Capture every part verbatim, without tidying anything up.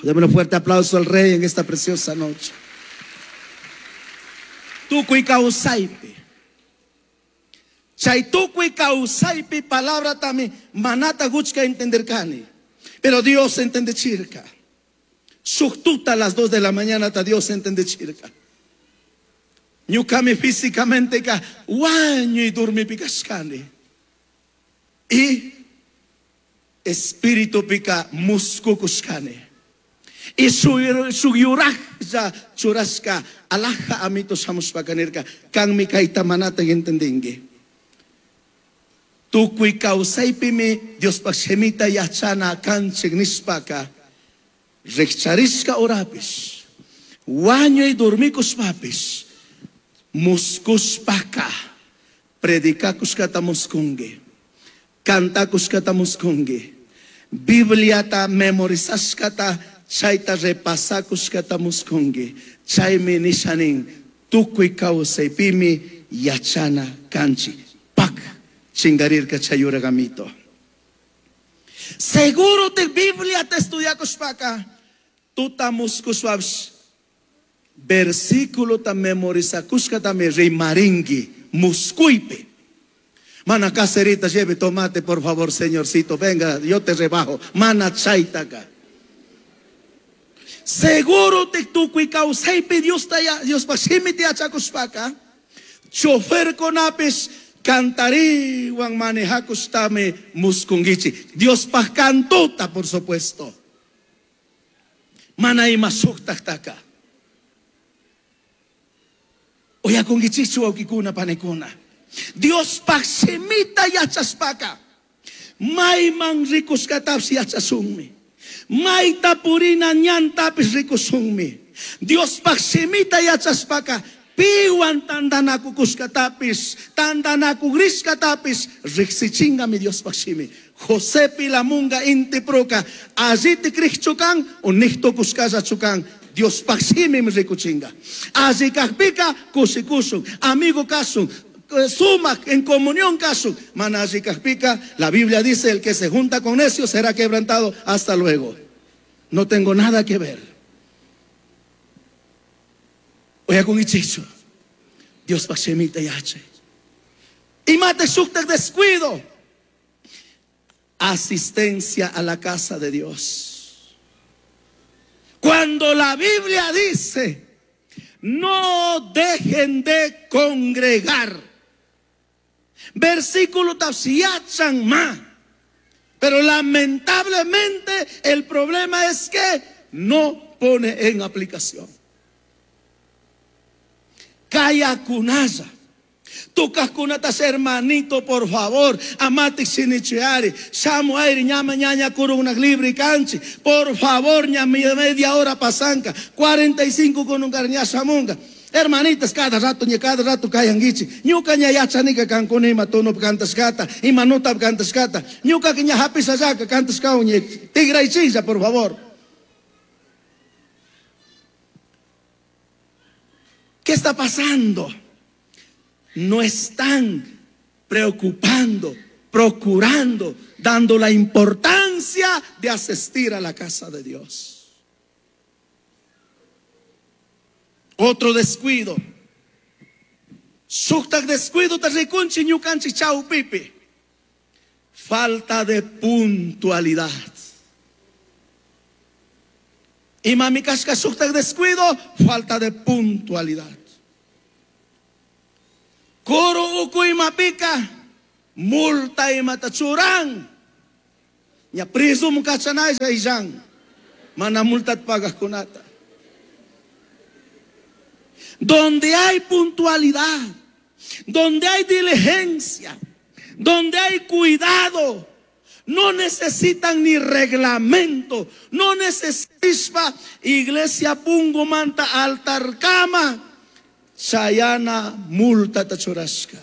Deme un fuerte aplauso al rey en esta preciosa noche. Tukuy kawsaypi. Chay tukuy kawsaypi palabra tami manata guchka entenderkani. Pero Dios entendechirka. Shuktuta a las dos de la mañana ta Dios entendechirka. Ñukami físicamente ka wañuy durmipikashkani. Y espíritu pika muskukushkani. Y suyurajlla churashka alaja amito shamushpakanirka kanmi kayta manata entendinki. Tukuy kawsaypimi Diospaj shimita yachana kanchik nishpaka rikcharishka horapish wañuy dormikushpapish muskushpaka predikakushkata muskunki, kantakushkata muskunki, Bibliata memorizashkata chayta repasakushkata muskunki. Chaymi nishanin tukuy kawsaypimi yachana kanchik. Pak chingarirka chayuragamito. Seguro te Biblia te estudiakushpaka tuta muskushpapish versículo ta memorizakushkata mi rimarinki muskuypi. Mana caserita, lleve tomate, por favor, señorcito. Venga, yo te rebajo. Mana chaytaka. Seguro te tukuy kawsaypi Dios ta ya, Dios pa shimiti yachakushpaka. Chofer konapis cantariwan manejakushtami muskungichi. Dios pa cantuta, por supuesto. Mana ima shuktaktaka. Oyakungichichu wawkikuna panikuna. Dios pa shimita yachashpaka. Mayman rikushkatapis yachasunmi. Mayta purina ñantapis rikusunmi. Dios pa shimita yachashpaka. Piwan tandanakukushkatapis, tandanakugrishkatapis, riksichingami Dios pa shimi. José Pilamunga inti proka, alliti krikchukan, o nihtokushkallachukan. Dios pa shimi mi rikuchinga. Alli kajpika, kushikushun, amigo kasun, sumak en comunión kasun. Mana alli kajpika, la Biblia dice, el que se junta con necios será quebrantado. Hasta luego. No tengo nada que ver. Oye, con ichicho. Dios pa shemita yache. Y mate shuktak descuido. Asistencia a la casa de Dios. Cuando la Biblia dice, no dejen de congregar. Versículo tapsiachan ma. Pero lamentablemente el problema es que no pone en aplicación. Kayakunaya. Tukaskunatas hermanito, por favor. Amati sinichiari. Samuel, ñama ñaña kuruna libri canchi. Por favor, ña media hora pasanca. cuarenta y cinco con un carña samunga. Hermanitas, cada rato, ña cada rato kayangichi. Ñuka ña yachanika kankuna ima tono cantascata, ima nota cantascata. Ñuka que ña hapisayaka cantascao ñe tigraichilla, por favor. ¿Qué está pasando? No están preocupando, procurando, dando la importancia de asistir a la casa de Dios. Otro descuido. Shuktak descuido te rikunchi ñukanchi chau pipi. Falta de puntualidad. Y mami kashka shuktak descuido, falta de puntualidad. Kuru uku imapika, multa imatachurang. Nya priso mukachanay sa isang. Mana multa at pagakunata. Donde hay puntualidad, donde hay diligencia, donde hay cuidado, no necesitan ni reglamento, no necesitan iglesia pungo manta altar cama, chayana multa tachurashka.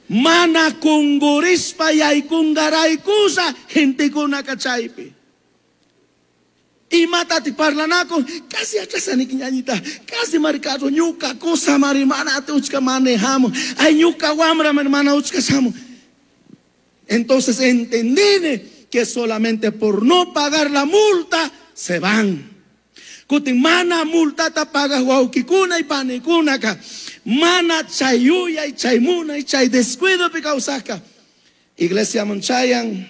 Mana kungurispa yaikungaraykusa gentekuna kachaypi. Imatati parlanako, casi atrasani ñañita, casi maricado, ñuca cosa marimana te uchka manejamos, ay ñuca guamra hermana uchka samo. Entonces entendí que solamente por no pagar la multa se van. Kutin mana multata paga wawkikuna y panikunaka. Mana chayuya y chaymuna y chay descuido pi kawsaka. Iglesia Monchayan,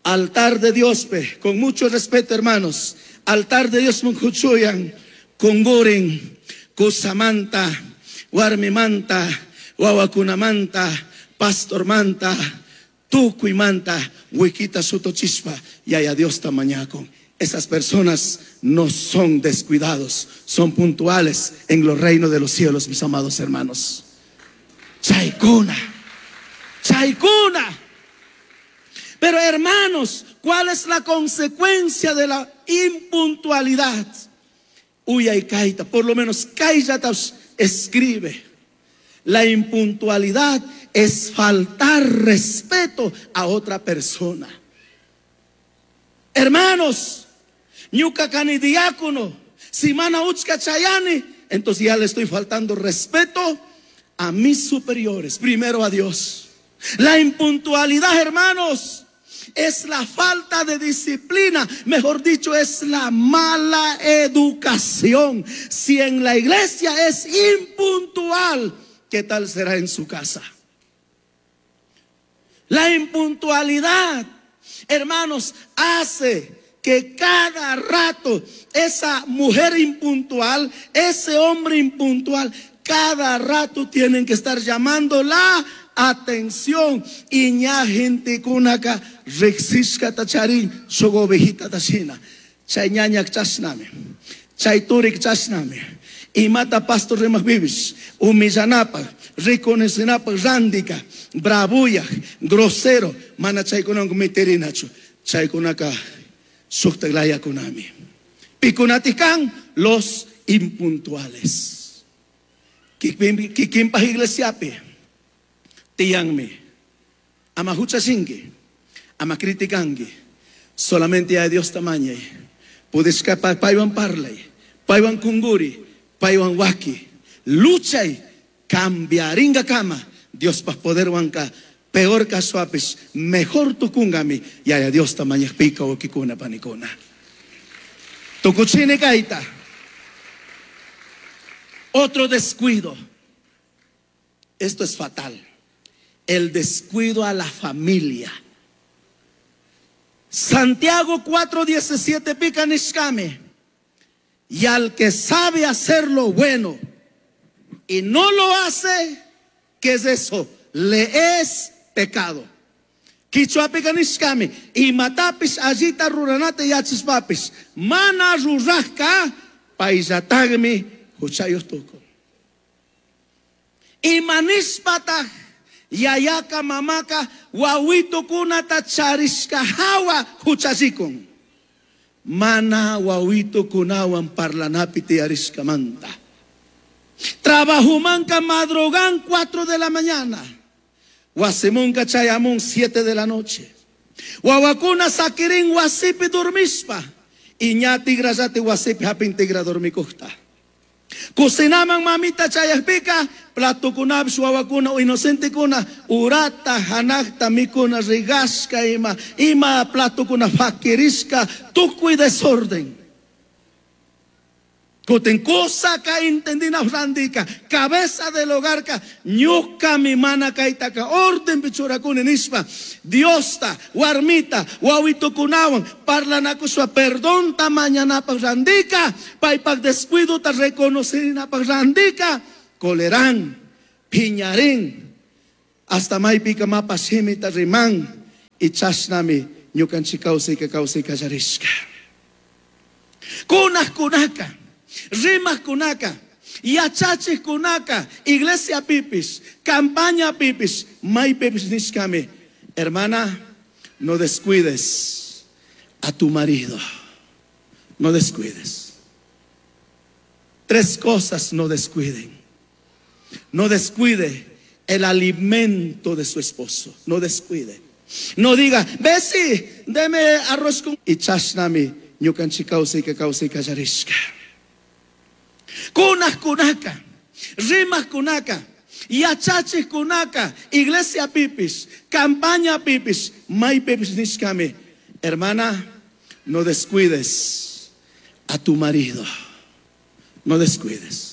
altar de Dios, pe, con mucho respeto, hermanos. Altar de Dios munkuchuyan, kungurin, kusamanta, warmimanta, wawakunamanta, pastormanta, tukuymanta, wikita sutochispa, yaya Dios tamañakon. Esas personas no son descuidados, son puntuales en los reinos de los cielos, mis amados hermanos. Chaykuna, chaykuna. Pero hermanos, ¿cuál es la consecuencia de la impuntualidad? Uya y kaita, por lo menos kaita escribe. La impuntualidad es faltar respeto a otra persona. Hermanos, ñuka kani diácono, si mana uchka chayani, entonces ya le estoy faltando respeto a mis superiores, primero a Dios. La impuntualidad, hermanos, es la falta de disciplina, mejor dicho, es la mala educación. Si en la iglesia es impuntual, ¿qué tal será en su casa? La impuntualidad, hermanos, hace que cada rato esa mujer impuntual, ese hombre impuntual, cada rato tienen que estar llamando la atención. Y ña gente kunaka riksishka tacharin sugobejita tachina. Chay ñañak chashnami, chay turik chashnami. Imata pastor rimak bibis, humillanapa, reconocenapa, randika, bravuya, grosero, mana chaykunan miterinachu, chaykunaka suktaglaya kunami. Pikunatikan los impuntuales. Kikimpa iglesiapi, tiyanmi, ama huchasingi, ama criticangi, solamente a Dios tamaña. Puedes paywan parlay, paywan kunguri, paywan waki, luchay, cambiaringa kama, Dios pa poder wanka, peor caso apis, mejor tukungami, y a Dios tamaña pica o kikuna panikuna. Tukuchine kaita. Otro descuido. Esto es fatal. El descuido a la familia. Santiago cuatro diecisiete pica nishkame. Y al que sabe hacer lo bueno y no lo hace, ¿qué es eso? Le es pecado. Kichwa pica nishkame. Y matapis allita ruranate yachispapis. Mana rurajka paisatagmi huchayos tuko. Y manispata yayaka mamaka wawito kunata charishka hawa huchachikon. Mana wawito kunawan parlanapi tiarishka manta. Trabajumanka madrogan cuatro de la mañana. Wasimunka chayamun siete de la noche. Wawakuna sakirin wasipi dormispa. Iña tigrayati wasipi hapin tigra dormikuhta. Kusinaman mamita chayajpika, platukunapis wawakuna o inocentekuna, urata, hanakta, mikuna, rigashka ima, ima platukuna fakirishka, tukuy desorden. Kutin kusaka intendina randika, cabeza del hogar ka, ñuka mi mana kaitaka, orden pichurakuni nishpa, Diosta, warmita, wawitukunawan, parlanakuswa, perdón ta mañana pa randika, paypak descuido ta reconocerina pa randika, colerán, piñarín, hasta maypika mapa shimita riman, y chashnami, ñukanchik kawsayka kawsayka yarishka. Kunaj kunaka, rimas kunaka, yachachis kunaka, iglesia pipis, campaña pipis, may pipis nishkame. Hermana, no descuides a tu marido. No descuides. Tres cosas no descuiden. No descuide el alimento de su esposo. No descuide. No diga, Bessie, deme arroz con... Y chashnami, ñukanchik kawsayka kawsayka yarishka. Kunaj kunaka, rimas kunaka, Yachachijcunaca iglesiapipish, campañapipish, maipipish nishcami, hermana, no descuides a tu marido. No descuides.